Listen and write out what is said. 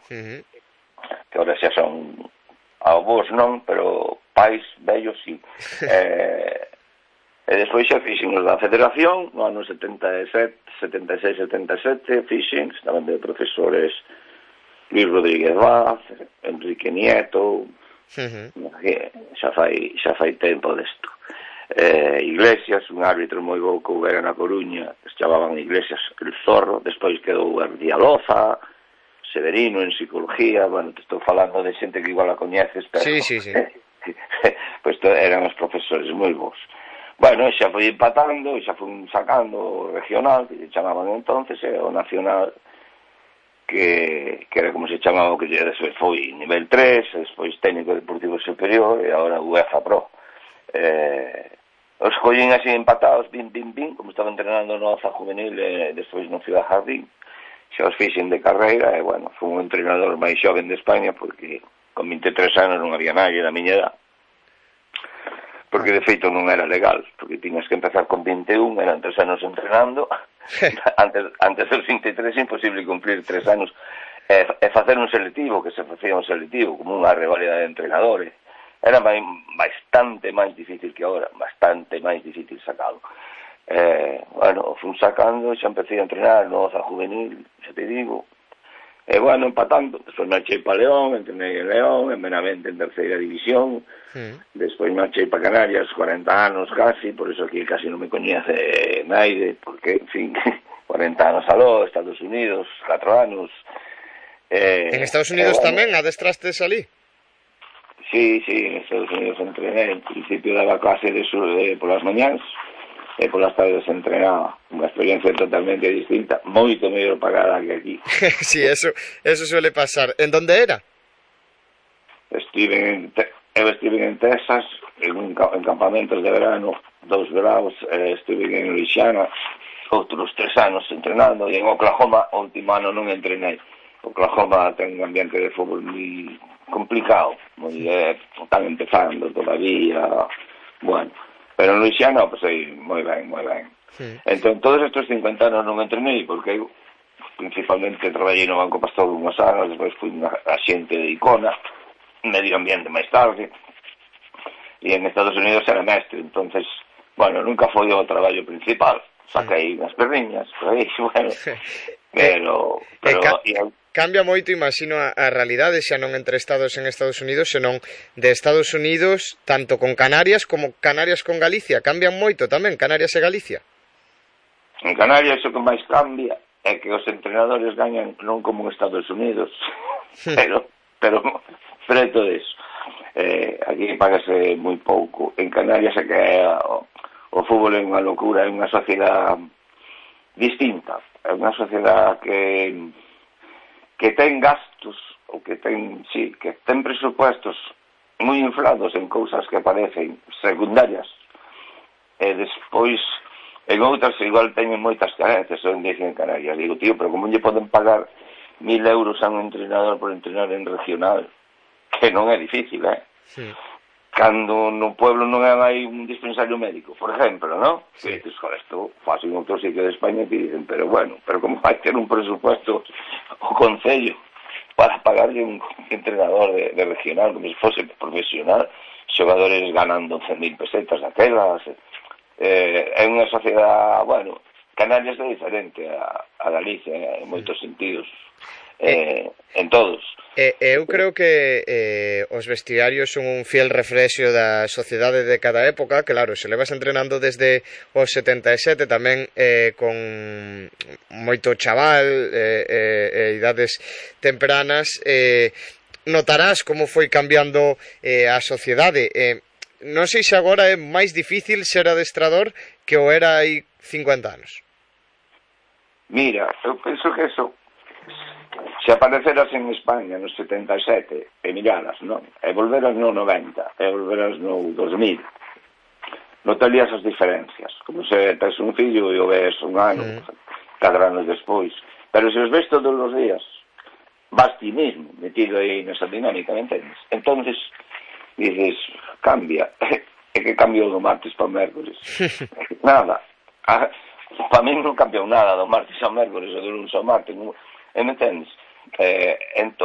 que ahora xa son avós non, pero pais vellos sí. E despois xa fixen os da Federación no ano 76-77 fixen, estaban de profesores Luis Rodríguez Vaz, Enrique Nieto, xa fai tempo desto. Iglesias, un árbitro moi bo que houbera na Coruña, que se chamaban Iglesias el Zorro, despois quedou Dialoza, Severino en psicología, bueno, te estou falando de xente que igual a coñeces, pero Sí. pois eran os profesores moi bons. Bueno, xa foi empatando, xa foi sacando o regional, que se chamaban entonces, o nacional, que era como se chamaba, que despois foi nivel 3, despois técnico deportivo superior, e agora UEFA Pro. Os collín así empatados, bim, como estaba entrenando no Oza Juvenil e despois no Ciudad Jardín, xa os fixen de carreira, e bueno, foi un entrenador máis xoven de España, porque con 23 anos non había nadie da miña edad, porque de feito non era legal, porque tiñas que empezar con 21, eran 3 anos entrenando, antes dos 23 imposible cumplir 3 anos, e facer un selectivo, que se facía un selectivo, como unha rivalidade de entrenadores, era bastante máis difícil que agora, bastante máis difícil sacalo. Bueno, fui sacando, xa empecé a entrenar no Oza Juvenil, xa te digo, e bueno, empatando, despois marchei para León, entrenei en León, en Benavente en terceira división, despois marchei para Canarias, 40 anos casi, por eso aquí casi non me coñece naide, porque, en fin, 40 anos aló, Estados Unidos, 4 anos. En Estados Unidos tamén adestrastes ali? Sí, en Estados Unidos entrené, en principio daba clase polas mañáns, e polas tardes entrenaba, unha experiencia totalmente distinta, moito mellor pagada que aquí. Sí, eso suele pasar. ¿En dónde era? Eu estive en Texas, en campamentos de verano, 2 veranos, estive en Louisiana, outros 3 anos entrenando, e en Oklahoma, o último ano non entrenei. Oklahoma ten un ambiente de fútbol moi complicado, están empezando todavía, bueno, pero en Louisiana, pues aí, moi ben. Entón, todos estes 50 anos non entrenei, porque eu principalmente traballei no Banco Pastor unhos anos, despois fui unha axente de Icona, medio ambiente máis tarde, e en Estados Unidos era mestre, entonces, bueno, nunca foi o traballo principal, saquei unhas perriñas, por aí, bueno, pero cambia moito, imagino, a realidade xa non entre estados en Estados Unidos, senón de Estados Unidos tanto con Canarias como Canarias con Galicia. Cambian moito tamén Canarias e Galicia. En Canarias o que máis cambia é que os entrenadores gañan non como en Estados Unidos, pero preto deso. Aquí pagase moi pouco. En Canarias é que o fútbol é unha locura, é unha sociedade distinta, é unha sociedade que ten gastos, ou que ten presupuestos moi inflados en cousas que parecen secundarias, e despois en outras igual teñen moitas carencias, son dicen en Canarias. Digo, tío, pero como lle poden pagar 1.000 euros a un entrenador por entrenar en regional? Que non é difícil, Sí. Cando no pueblo non hai un dispensario médico, por exemplo, non? Sí. Que dices, joder, isto faz en outro sitio de España que dicen, pero bueno, pero como vai ter un presupuesto o Concello para pagarle un entrenador de regional como se fose profesional, xogadores ganando 11.000 pesetas daquelas, é unha sociedade, bueno, Canarias é diferente a Galicia en moitos sentidos, en todos. Eu creo que os vestiarios son un fiel reflexo da sociedade de cada época. Claro, se levas entrenando desde os 77 tamén con moito chaval idades tempranas, notarás como foi cambiando a sociedade. Non sei se agora é máis difícil ser adestrador que o era hai 50 anos. Mira, eu penso que eso, se apareceras en España no 77 e miraras, non? E volveras no 90 e volveras no 2000, notarías as diferencias, como se tes un fillo e o ves un ano, 4 anos despois, pero se os ves todos os días, vas ti mesmo metido aí nesa dinámica, me entendes? Entonces dices, cambia, é que cambiou do martes para o mércoles, nada, para mí non cambiou nada do martes ao mércoles ou do lunes ao martes, me entendes? Entón